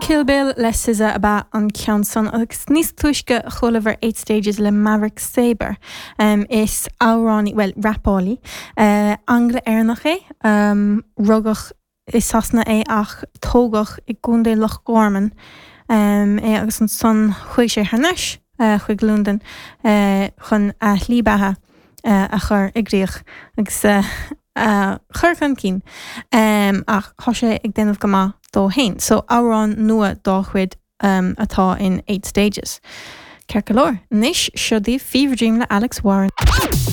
Kill Bill le SZA ab ea an ceann san agus níos túisce chualabhar Eight Stages le Maverick Sabre. Is amhránaí, bhuel, rapálaí, Angla-Éireannach é. Rugadh i Sasana é ach tógadh i gContae Loch Garman é agus ansan chuaigh sé thar n-ais chuig Londain chun a shlí beatha a chur i gcrích agus a chur chun cinn ach tá sé ag déanamh go maith dó fhéin. So amhrán nua dá chuid atá in Eight Stages. Ceart go leor, anois seo daoibh Fever Dream le Alex Warren.